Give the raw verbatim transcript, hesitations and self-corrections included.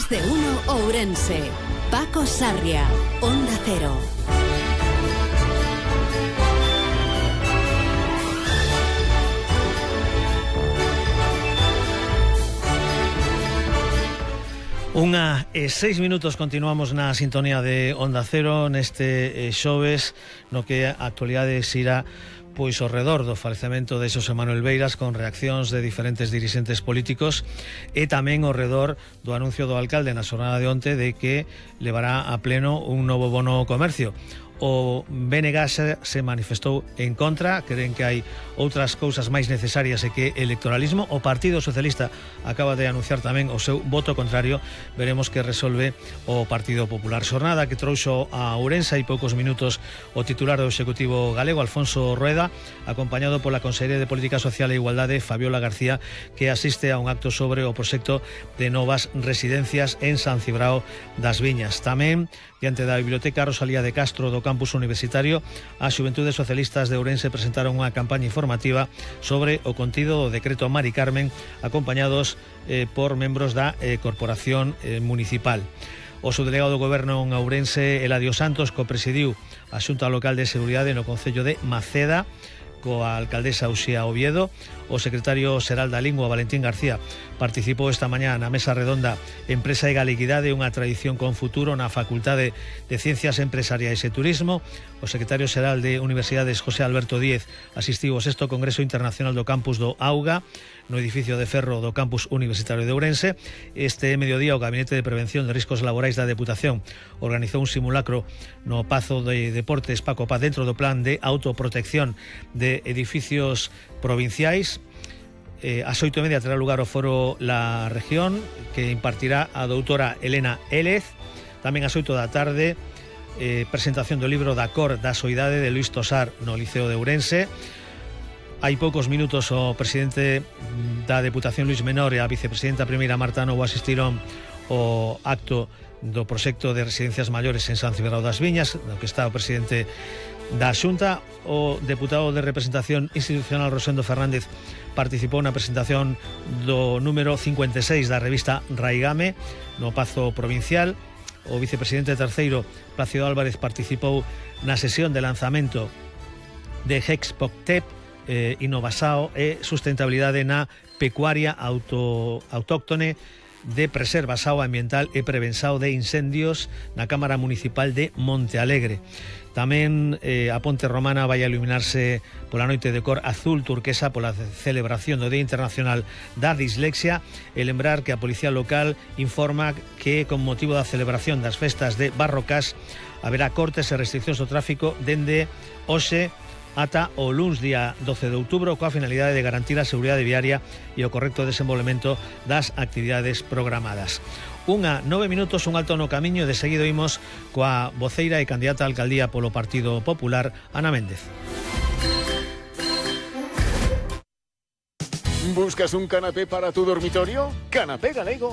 Más de uno Ourense. Paco Sarria, Onda Cero. Unha e seis minutos continuamos na sintonía de Onda Cero neste eh, xoves no que a actualidade xira pois ao redor do falecemento de Xosé Manuel Beiras con reaccións de diferentes dirixentes políticos e tamén ao redor do anuncio do alcalde na xornada de onte de que levará a pleno un novo bono comercio. O B N G se, se manifestou en contra, creen que hai outras cousas máis necesarias e que electoralismo. O Partido Socialista acaba de anunciar tamén o seu voto contrario. Veremos que resolve o Partido Popular. Xornada que trouxo a Ourense hai poucos minutos o titular do Executivo galego, Alfonso Rueda, acompañado pola Conselleira de Política Social e Igualdade, Fabiola García, que asiste a un acto sobre o proxecto de novas residencias en San Cibrao das Viñas. Tamén, diante da Biblioteca Rosalía de Castro do campus universitario, as Xuventudes Socialistas de Ourense presentaron unha campaña informativa sobre o contido do decreto Mari Carmen, acompañados eh, por membros da eh, Corporación eh, Municipal. O subdelegado do Goberno en Ourense, Eladio Santos, copresidiu a Xunta Local de Seguridade no Concello de Maceda, coa alcaldesa Uxía Oviedo. O secretario xeral da Lingua, Valentín García, participou esta mañá na mesa redonda Empresa e Galeguidade, unha tradición con futuro na Facultade de Ciencias Empresariais e Turismo. O secretario xeral de Universidades, José Alberto Díez, asistiu ao sexto Congreso Internacional do Campus do Auga, no edificio de ferro do Campus Universitario de Ourense. Este mediodía o Gabinete de Prevención de Riscos Laborais da Deputación organizou un simulacro no Pazo de Deportes Paco Paz dentro do plan de autoprotección de edificios provinciais. Eh, ás oito e media terá lugar o foro La Región, que impartirá a doutora Elena Élez. Tamén ás oito da tarde, eh, presentación do libro Da Cor da Soidade de Luís Tosar no Liceo de Ourense. Hai poucos minutos o presidente da Deputación, Luís Menor, e a vicepresidenta primeira, Marta Novo, asistiron ao acto do proxecto de residencias maiores en San Cibrao das Viñas, no que está o presidente da Xunta. O deputado de representación institucional, Rosendo Fernández, participou na presentación do número cincuenta e seis da revista Raigame no Pazo Provincial. O vicepresidente terceiro, Plácido Álvarez, participou na sesión de lanzamento de Hexpoctep, eh, Innovasao e sustentabilidade na pecuaria auto, autóctone de preservasao ambiental e prevensao de incendios na Cámara Municipal de Monte Alegre. Tamén eh, a Ponte Romana vai a iluminarse pola noite de cor azul turquesa pola celebración do Día Internacional da Dislexia, e lembrar que a Policía Local informa que con motivo da celebración das festas de Barrocás haberá cortes e restriccións do tráfico dende hoxe ata o luns día doce de outubro, coa finalidade de garantir a seguridade viaria e o correcto desenvolvemento das actividades programadas. Unha, nove minutos, un alto no camiño, e de seguido imos coa voceira e candidata a alcaldía polo Partido Popular, Ana Méndez. ¿Buscas un canapé para tu dormitorio? Canapé Galego